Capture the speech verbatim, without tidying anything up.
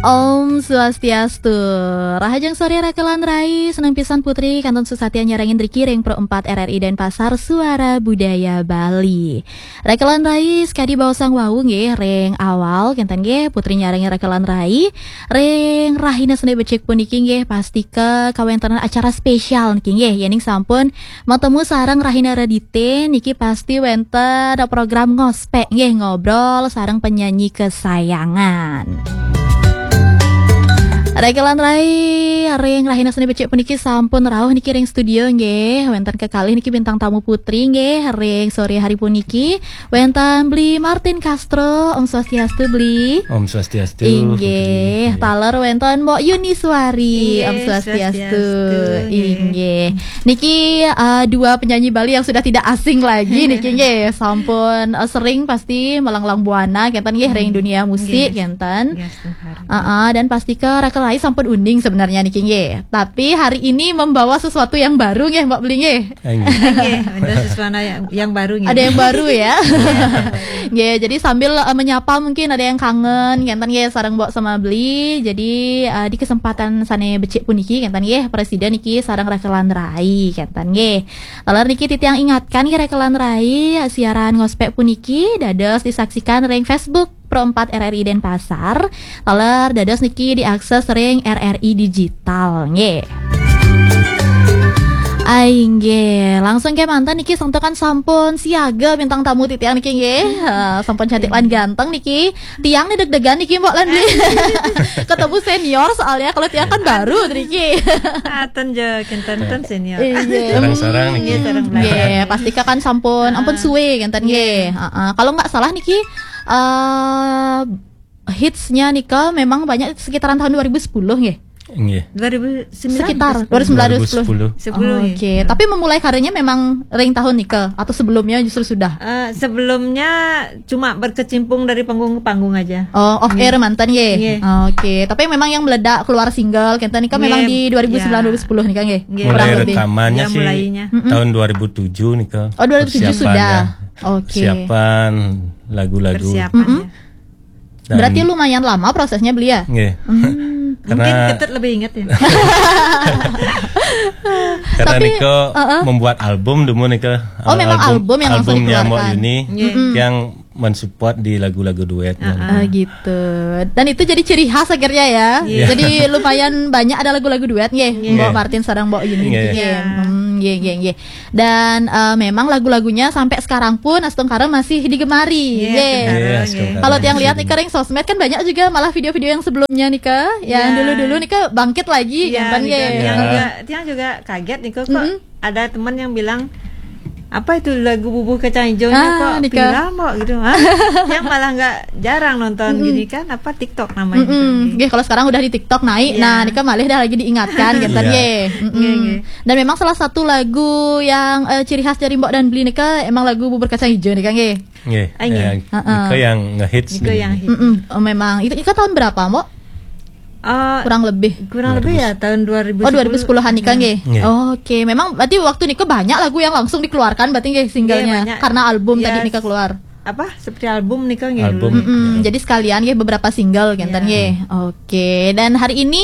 Om Swastiastu. Rahajeng sore Rakelan Rai, seneng pisan Putri kantun suksatian nyarengin riki ring Pro empat R R I Denpasar, Suara Budaya Bali. Rakelan Rai, sakadi baosang wau nggih ring awal kenten nggih, Putri nyarengin Rakelan Rai ring rahina Senin becik puniki nggih, pastika kawéntenan acara spesial niki nggih, yéning sampun matemu sareng rahina Redité niki pasti wénten program ngospék nggih, ngobrol sareng penyanyi kesayangan. Rakelan Rai, ring rahina Senin becik puniki sampun rauh niki ring studio nggih. Wénten kekalih niki bintang tamu Putri nggih ring sore hari puniki. Wénten Bli Martin Castro, Om Swastiastu Bli. Om Swastiastu, Inggih, Putri. Taler wénten Mbok Yuni Suari, Inggih, Om Swastiastu. Swastiastu, inggih. Inggih. Niki uh, dua penyanyi Bali yang sudah tidak asing lagi niki nggih. Sampun uh, sering pasti melanglang buana kenten nggih ring dunia musik kenten. Yes, Tuhan. Uh, uh, dan pastika Rakelan Rai sampun uning sebenarnya niki nggih. Tapi hari ini membawa sesuatu yang baru nggih Mbok Bli nggih. Inggih. Nggih, ada sesuatu yang, yang baru nggih. Ada yang baru ya. Nggih, jadi sambil uh, menyapa mungkin ada yang kangen kenten nggih sareng Mbok sama Bli. Jadi uh, di kesempatan sané becik puniki kenten nggih, Presiden niki sareng Rakelan Rai kenten nggih. Taler niki titiang ingatkan nggih Rakelan Rai, siaran ngospék puniki dados disaksikan ring Facebook Pro empat R R I Denpasar. Taler dados niki diakses ring R R I Digital nggih. Ai nggih, langsung kémanten niki santukan sampun siaga bintang tamu titiang niki nggih. Eh, sampun cantik lan ganteng niki. Tiang nih deg-degan niki Mbok lan Bli. Ketemu senior soalnya, kalau tiang kan baru niki. Aten je, kenten ten senior. Iya. Sarang-sarang niki. Iya, sarang belajar. Nggih, pastika kan sampun ampun suwe kenten nggih. Heeh. Kalau nggak salah niki eh hitsnya nika memang banyak sekitaran tahun dua ribu sepuluh nggih. Nggih. Dua ribu sembilan. Sekitar dua ribu sembilan, dua ribu sepuluh. Dua ribu sepuluh. Sepuluh, nggih. Oke, tapi memulai karirnya memang ring tahun nika atau sebelumnya justru sudah? Eh, sebelumnya cuma berkecimpung dari panggung ke panggung aja. Oh, off air manten nggih. Nggih. Oke, tapi memang yang meledak keluar single kenten nika memang di dua ribu sembilan, ya, dua ribu sepuluh nika nggih. Nggih. Mulai rekamannya sih tahun dua ribu tujuh nika. Oh, dua ribu tujuh sudah. Oke. Persiapan lagu-lagu. Persiapan, ya. Berarti lumayan lama prosesnya Bli ya? Nggih. Hmm. Mungkin Ketut lebih ingat ya. Karena Niko membuat album dulu Niko. Oh, memang album yang langsung dikeluarkan. Albumnya Mbok Yuni, yang mensupport di lagu-lagu duetnya. Ah, gitu. Dan itu jadi ciri khas akhirnya ya. Iya. Jadi lumayan banyak ada lagu-lagu duet nggih. Iya. Mbok Martin sareng Mbok Yuni. Iya. Nggih. Hmm, nggih, nggih, nggih. Dan eh, memang lagu-lagunya sampai sekarang pun astungkara masih digemari. Iya, astungkara. Kalau tiang lihat nih ring sosmed kan banyak juga malah video-video yang sebelumnya nih Kak, yang dulu-dulu nih Kak bangkit lagi. Iya, kan, gitu. Tiang juga, tiang juga kaget nih kok ada teman yang bilang apa itu lagu Bubur Kacang Hijaunya kok viral kok gitu. Hah? Yang malah nggak jarang nonton gini kan apa TikTok namanya gitu. Nggih, kalau sekarang udah di TikTok naik, nah nika malih dah lagi diingatkan gitu nggih. Dan memang salah satu lagu yang eh, ciri khas dari Mbok dan Bli nika emang lagu Bubur Kacang Hijau nika nggih. Nggih. Ah, nggih. Nika yang ngehits. Nika yang hits. Oh, memang itu, itu tahun berapa, Mbok? Eh, kurang lebih. Kurang lebih ya tahun dua ribu sepuluh. Oh, dua ribu sepuluhan nika nggih. Nggih. Oke, memang berarti waktu nika banyak lagu yang langsung dikeluarkan berarti nggih singlenya. Nggih, banyak. Karena album tadi nika keluar. Apa? Seperti album nika nggih. Album. Jadi sekalian nggih beberapa single kenten nggih. Oke, dan hari ini